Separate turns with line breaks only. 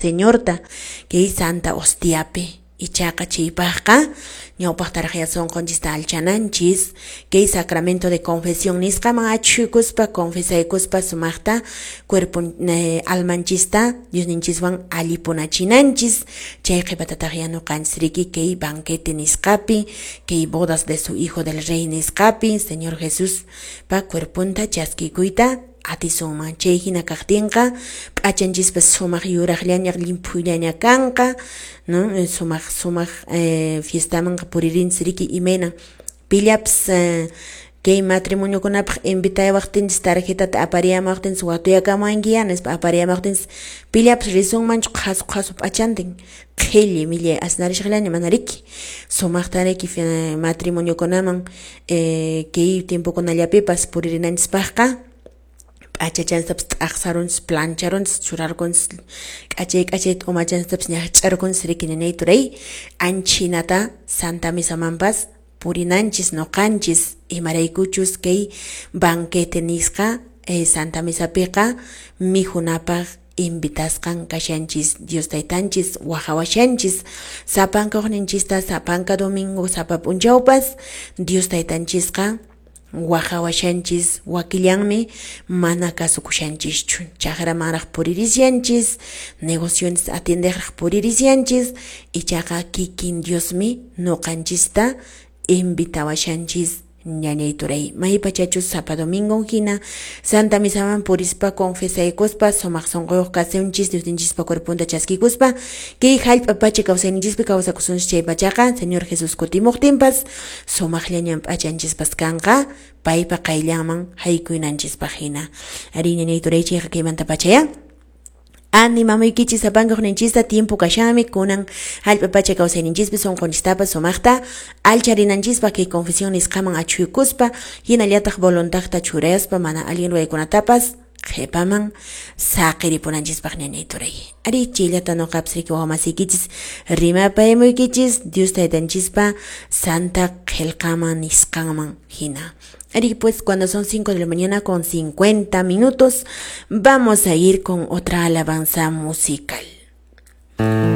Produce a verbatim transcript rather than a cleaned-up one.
Señorta kay Santa Hostiapi. Ichaqa chaypaqqa ñawpaqtaraq sunqunchista alchananchis kay sacramento de confesión nisqaman achhuykuspa, confesaykuspa, sumaqta cuerpo eh, almanchista Diosninchiswan allipunachinanchis. Chay qhipatataq ya ñuqanchis riki kay banquete nisqapi, kay bodas de su hijo del rey nisqapi Señor Jesús pa cuerponta chaskikuyta atisunman. Chay hina kaqtinqa p'achanchispas sumaq yuraqllaña, llimphullaña kanqa, no? Sumaq sumaq eh, fiestamanqa puririnchis riki. Imayna pillapas eh, kay matrimoniokunapaq invitayawaqtinchis, tarjetata apariyamaqtinchis, watuyakamankiya nispa apariyamaqtinchis, pillapas risunmanchu qhasu qhasu p'achantin, qhilli millay asnarishaqllaña? Mana riki. Sumaqta riki matrimoniokunaman eh, kay tiempokunallapipas puririnanchispaqqa p'achachanstapas t'aqsarunchis, plancharunchis, churarkunchis, k'achay k'achay umachanstapas ñaqch'arkunchis riki, ñañay turay. Anchinata Santa Misamanpas purinanchis ñuqanchis, imaraykuchus kay banquete nisqa eh, Santa Misapiqa mikhunapaq invitasqan kashanchis. Dios Taytanchis waqawashanchis sapanka uqninchista, sapanka domingo, sapa p'unchawpas Dios Taytanchisqa waqawashanchis. Wakillanmi mana kasukushanchischu, chakramanraq puririshanchis, negocionchis atiendeqraq puririshanchis. Ichaqa kikin Diosmi ñuqanchista invitawashanchis, ñañay turay. Maypachachus sapa domingo hina Santa Misaman purispa, confesaykuspa, sumaq sunquyuq kasunchis, Diosninchispa cuerponta chaskikuspa kay hallp'a pacha kawsayninchispi kawsakusunchis, chay pachaqa Señor Jesús kutimuqtinpas sumaqllañan p'achanchispas kanqa paypa qayllanman haykuyninchispaq hina. Ari, ñañay turay, chayqa kaymanta pachaya animamuykichis sapanka uqninchista. Tiempo kashanmi kunan hallp'a pacha kawsayninchispi sunqunchistapas sumaqta alcharinanchispaq, kay confesión nisqaman achhuykuspa, hinallataq voluntadta churaspa mana allin ruwaykunatapas qhipaman saqiripunanchispaq, ñañay turay. Ari, chayllata ñuqapas riki wawamasiykichis rimapayamuykichis Dios Taytanchispa Santa Qillqaman nisqanman hina. Ari, pues cuando son cinco de la mañana con cincuenta minutos, vamos a ir con otra alabanza musical.